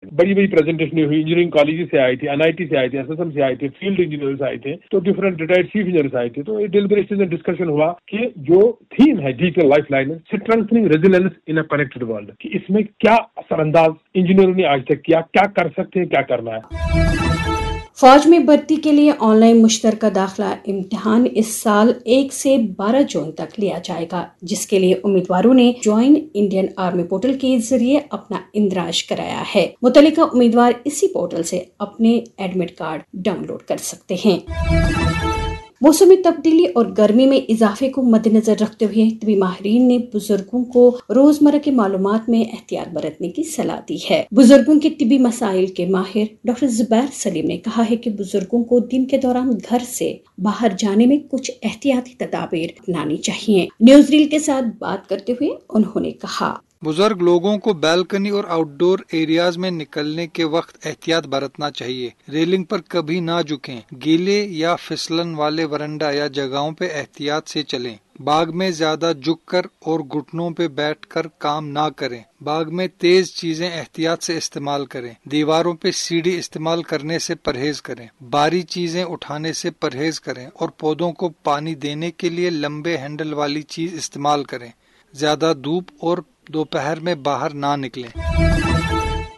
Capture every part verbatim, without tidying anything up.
बड़ी बड़ी प्रेजेंटेशन हुई, इंजीनियरिंग कॉलेज से आई थी, एनआईटी से आई थी, एसएसएम से आई थी, फील्ड इंजीनियर्स आए थे, तो डिफरेंट रिटायर्ड चीफ इंजीनियर्स आए थे। तो ये डिलिबरेशन एंड डिस्कशन हुआ कि जो थीम है digital life line, strengthening resilience in a connected world, कि इसमें क्या असरअंदाज इंजीनियरों ने आज तक किया, क्या कर सकते हैं, क्या करना है। फौज में भर्ती के लिए ऑनलाइन मुश्तरका दाखिला इम्तिहान इस साल एक से बारह जून तक लिया जाएगा, जिसके लिए उम्मीदवारों ने ज्वाइन इंडियन आर्मी पोर्टल के जरिए अपना इंदराज कराया है। मुतल्लिका उम्मीदवार इसी पोर्टल से अपने एडमिट कार्ड डाउनलोड कर सकते हैं। मौसमी तब्दीली और गर्मी में इजाफे को मद्देनजर रखते हुए तबी माहिरीन ने बुजुर्गों को रोजमर्रा की मालूमात में एहतियात बरतने की सलाह दी है। बुजुर्गों के तिबी मसाइल के माहिर डॉक्टर जुबैर सलीम ने कहा है कि बुजुर्गों को दिन के दौरान घर से बाहर जाने में कुछ एहतियाती तदाबीर अपनानी चाहिए। न्यूज रील के साथ बात करते हुए उन्होंने कहा। बुजुर्ग लोगों को बालकनी और आउटडोर एरियाज में निकलने के वक्त एहतियात बरतना चाहिए। रेलिंग पर कभी ना झुकें। गीले या फिसलन वाले वरंडा या जगहों पर एहतियात से चलें। बाग में ज्यादा झुककर और घुटनों पर बैठकर काम ना करें। बाग में तेज चीजें एहतियात से इस्तेमाल करें। दीवारों पर सीढ़ी इस्तेमाल करने से परहेज करें। भारी चीजें उठाने से परहेज करें और पौधों को पानी देने के लिए लंबे हैंडल वाली चीज इस्तेमाल करें। ज्यादा धूप और दोपहर में बाहर ना निकलें।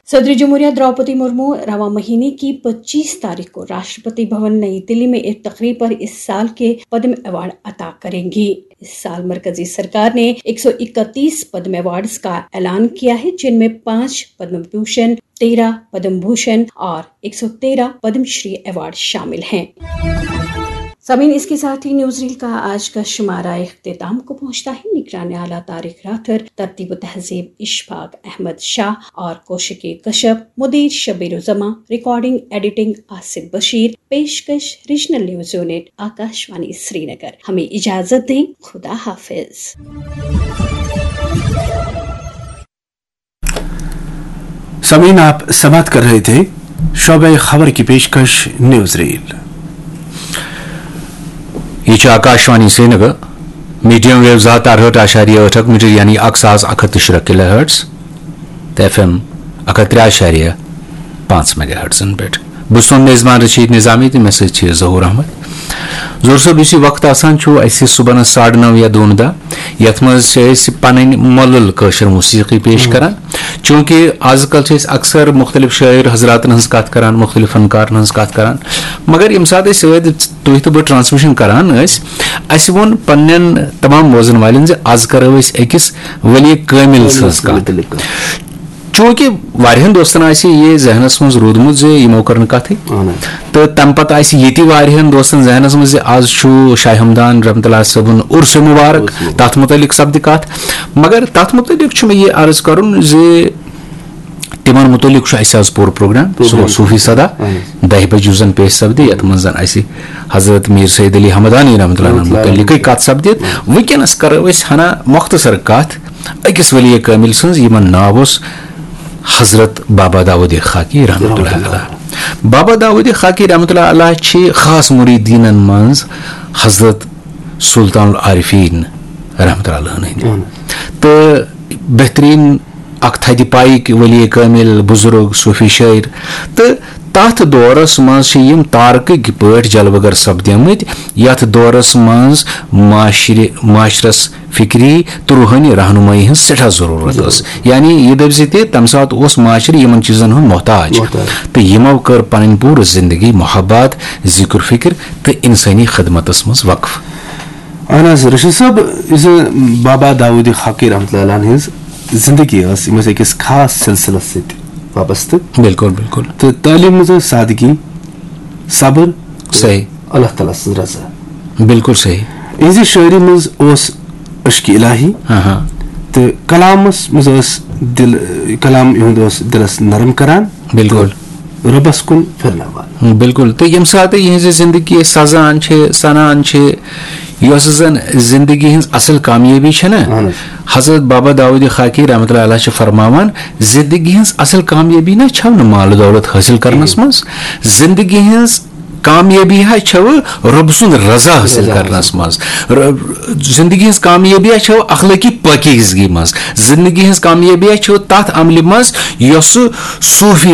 सदर जमहूरिया द्रौपदी मुर्मू रवा महीने की पच्चीस तारीख को राष्ट्रपति भवन नई दिल्ली में एक तकरीब पर इस साल के पद्म अवार्ड अता करेंगी। इस साल मरकजी सरकार ने एक सौ इकतीस पद्म अवार्ड्स का ऐलान किया है, जिनमें पांच पद्म भूषण, तेरह पद्म भूषण और एक सौ तेरह पद्मश्री अवार्ड शामिल हैं। सामीन, इसके साथ ही न्यूज रील का आज का शुमारा अख्ताम को पहुंचता है। निगरान आला तारिक राथर, तरतीब तहजीब इशफाक अहमद शाह और कोशिकी कश्यप, मुदीर शबीर जमा, रिकॉर्डिंग एडिटिंग आसिफ बशीर, पेशकश regional news unit, Akashvani Srinagar. हमें इजाजत दें, खुदा हाफिज। सामीन, आप समाप्त कर रहे थे शोबे खबर की पेशकश न्यूज रील। یہ چھِ آکاشوانی سرینگر، میڈیم ویو زٕ ہتھ تہٕ ارہٲٹھ اعشاریہ ٲٹھ اکھ میٹر یعنی اکھ ساس اکھ ہتھ تہٕ شُراہ کلو ہرٹز تہٕ ایف ایم اکھ ہتھ ترٛےٚ اعشاریہ پانٛژھ میگا ہرٹزن پٮ۪ٹھ۔ بہٕ چھُس تُہُنٛد میزبان رشید نظامی تہٕ مےٚ سۭتۍ چھِ ظہور احمد۔ ظہور صٲب، یُس یہِ وقت آسان چھُ اَسہِ صُبحنَس ساڑٕ نَو یا دۄن دۄہ، یَتھ منٛز چھِ أسۍ پَنٕنۍ مۄلُل کٲشِر موسیقی پیش کران، چوٗنٛکہِ آز کل چھِ أسۍ اکثر مُختٔلِف شٲعر حضراتن ہٕنٛز کتھ کران، مُختٔلِف فنکارن ہٕنٛز کتھ کران، مگر ییٚمہِ ساتہٕ أسۍ سٲنۍ تُہۍ تہٕ بہٕ ٹرانسمیشن کران ٲسۍ، اسہِ ووٚن پننٮ۪ن تمام بوزن والٮ۪ن زِ از کرو أسۍ أکِس ؤلی کٲمِل سٕنٛز کتھ۔ چوٗنٛکہِ واریاہن دوستن آسہِ یہِ ذہنس منٛز روٗدمُت زِ یِمو کٔر نہٕ کتھٕے، تہٕ تمہِ پتہٕ آسہِ ییٚتہِ واریاہن دوستن ذہنس منٛز زِ از چھُ شاہ ہمدان رحمتہ اللہ صٲبُن عرس مبارک، تتھ متعلق سپدِ کتھ۔ مگر تتھ متعلق چھُ مےٚ یہِ عرض کرُن زِ تِمن متعلق چھُ اسہِ آز پوٗرٕ پروگرام۔ سُہ گوٚو صوفی صدا، دہہِ بجہِ یُس زن پیش سپدِ، یتھ منٛز زن اسہِ حضرت میر سید علی ہمدانی رحمتہ اللہ علیہ متعلقٕے کتھ سپدِ۔ وٕنکیٚنس کرو أسۍ ہنا مختصر کتھ أکِس ولی کٲمِل سٕنٛز، یِمن ناو اوس حضرت بابا داؤد خاکی رحمتہ اللہ علیہ۔ بابا داؤد خاکی رحمتہ اللہ علیہ چھِ خاص مریدینن منٛز حضرت سلطان العارفین رحمتہ اللہ علیہ ہٕنٛدۍ تہٕ بہترین اکھ تھدِ پایِکۍ ولی کٲمِل، بزرگ، صوفی شٲعر۔ تہٕ تتھ دورس منٛز چھِ یِم تارکٕکۍ پٲٹھۍ جلوٕ گر سپدیمٕتۍ، یتھ دورس منٛز معاشرِ معاشرس فکری تہٕ روحٲنی رہنمٲیی ہٕنٛز سٮ۪ٹھاہ ضروٗرت ٲس۔ یعنی یہِ دٔپۍ زِ تہِ تمہِ ساتہٕ اوس معاشرٕ یِمن چیٖزن ہُنٛد محتاج، تہٕ یِمو کٔر پنٕنۍ پوٗرٕ زندگی محبت، ذکر فکر تہٕ انسٲنی خدمتس منٛز وقف۔ اہن حظ رشید صٲب، یُس زن بابا داؤد خاکی رحمتہ اللہ علیہ ہٕنٛز زندگی ٲس، یِم ٲسۍ أکِس خاص سلسلس سۭتۍ وابستہٕ۔ بالکل، بالکل۔ تہٕ تعلیٖم منٛز ٲس سادگی، صبر، صحیح۔ اللہ تعالیٰ سٕنٛز رضا۔ بالکل صحیح۔ یِہنٛزِ شٲعری منٛز اوس عشق الٰہی، ہاں ہاں۔ تہٕ کلامس منٛز ٲس دل، کلام یِہُنٛد اوس دلس نرم کران۔ بالکل۔ رۄبس کُن پھِرناوان۔ بالکل۔ تہٕ ییٚمہِ ساتہٕ یِہنٛزِ زندگی سزان چھِ، سنان چھِ، یۄس زن زندگی ہٕنٛز اصل کامیٲبی چھےٚ نا، اہن حظ۔ حضرت بابا داؤد خاکی رحمتہ اللہ علیہ چھِ فرماوان، زندگی ہٕنٛز اصل کامیٲبی نہ چھو نہٕ مال دولت حٲصِل کرنس منٛز، زندگی ہٕنٛز کامیٲبی ہا چھو رۄب سُنٛد رضا حٲصِل کرنس منٛز۔ ر-، زندگی ہٕنٛز کامیٲبی ہا چھو اخلٲقی پٲکیزگی منٛز۔ زندگی ہٕنٛز کامیٲبی ہا چھو تتھ عملہِ منٛز یۄس صوفی